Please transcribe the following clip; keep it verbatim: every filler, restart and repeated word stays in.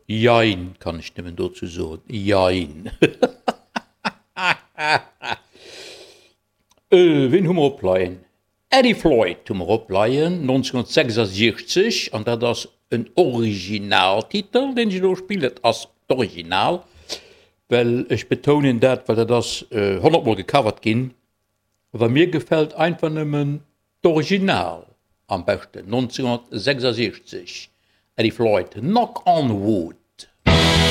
Jein, kann ech nëmmen dozou soen. Jein. Wien hu mer opleien? Eddie Floyd hu mer opleien, nonzénhunnertsechsasiechzeg, an dat ass en Originaltitel, deen ech elo spillen. Dat ass d'Original, well ech betounen dat, well dat ass honnertmol gecovert ginn, awer mir gefält einfach nëmmen d'Original am beschten, nonzénhunnertsechsasiechzeg, Eddie Floyd, Knock on Wood.